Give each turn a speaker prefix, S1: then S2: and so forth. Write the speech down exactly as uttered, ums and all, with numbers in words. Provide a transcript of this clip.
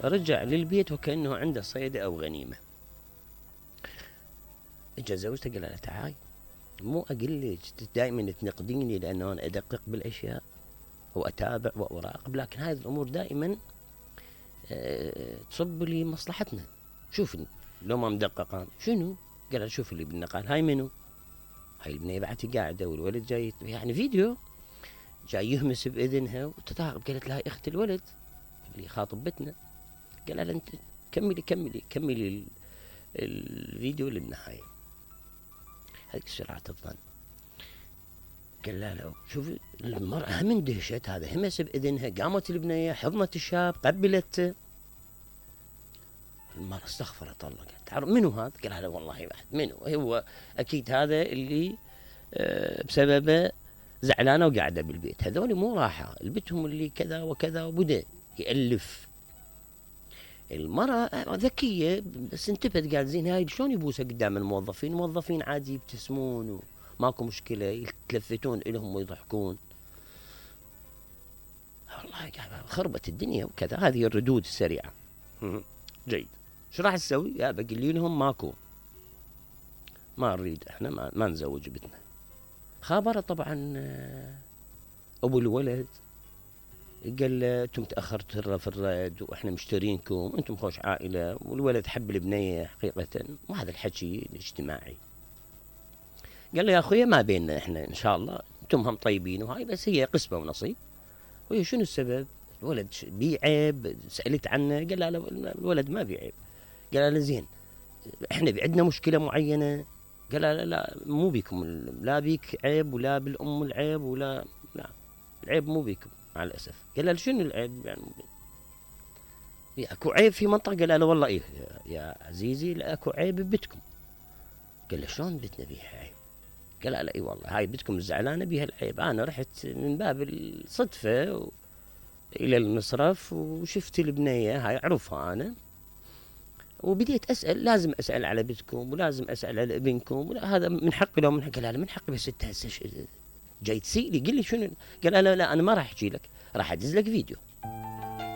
S1: رجع للبيت وكأنه عنده صيدة أو غنيمة. اجى زوجته قال لها تعاي، مو أقول لك دائما تنقديني لأنه أنا أدقق بالأشياء وأتابع وأراقب، لكن هذه الأمور دائما أه تصب لي مصلحتنا. شوفني لو ما مدققان شنو؟ قال لها شوف اللي بالنقال هاي منو؟ هاي البنية بعتي قاعدة والولد جاي، يعني فيديو جاي يهمس بإذنها وتتعاقب. قالت لها اخت الولد اللي خاطبتنا. قال لها انت كملي كملي كملي الفيديو للنهاية. هذيك سرعة الظن. قال لها لو شوفي المرأة هم اندهشت، هذا همس بإذنها، قامت البنية حضنت الشاب قبلته. المرأة استغفرت الله، قالت تعرف منو هذا؟ قال لها والله واحد. منو؟ هو أكيد هذا اللي أه بسببه زعلانة وقاعدة بالبيت. هذول مو راحة، البتهم اللي كذا وكذا، وبدأ يألف. المرأة ذكية بس انتبهت، قال زين هاي شلون يبوسها قدام الموظفين؟ الموظفين عادي يبتسمون وماكو مشكلة، يتلفتون إلهم ويضحكون. والله خربت الدنيا وكذا. هذه الردود السريعة. جيد. شو راح تسوي؟ يا بقول لهم ماكو، ما نريد احنا ما, ما نزوج بنتنا. خابره طبعا ابو الولد، قال له انتم تاخرتوا في الرد واحنا مشترينكم، انتم خوش عائله، والولد حب البنيه حقيقه، وهذا الحكي الاجتماعي. قال له يا اخويا ما بيننا احنا ان شاء الله، انتم هم طيبين وهاي، بس هي قسمه ونصيب. وهي شنو السبب؟ الولد بيه عيب؟ سالت عنه. قال لا الولد ما بيه عيب. قال له زين احنا عندنا مشكله معينه. قال لا لا مو بيكم، لا بيك عيب ولا بالام العيب ولا لا، العيب مو بيكم مع الاسف. قال له شنو العيب يعني؟ اكو عيب في منطقه؟ قال له والله ايه يا عزيزي لا اكو عيب ببيتكم. قال له شلون بيتنا بيها عيب؟ قال لا اي والله هاي بيتكم الزعلانه بيها العيب. انا رحت من باب الصدفه و... الى المصرف وشفت البنيه هاي اعرفها انا، وبديت اسال، لازم اسال على بنتكم ولازم اسال على ابنكم، ولا هذا من حقي لو من حقي؟ قال لا من حقي، بس انت هسه جاي تسيلي قل لي شنو؟ قال لا لا انا ما راح احكي لك، راح ادز لك فيديو.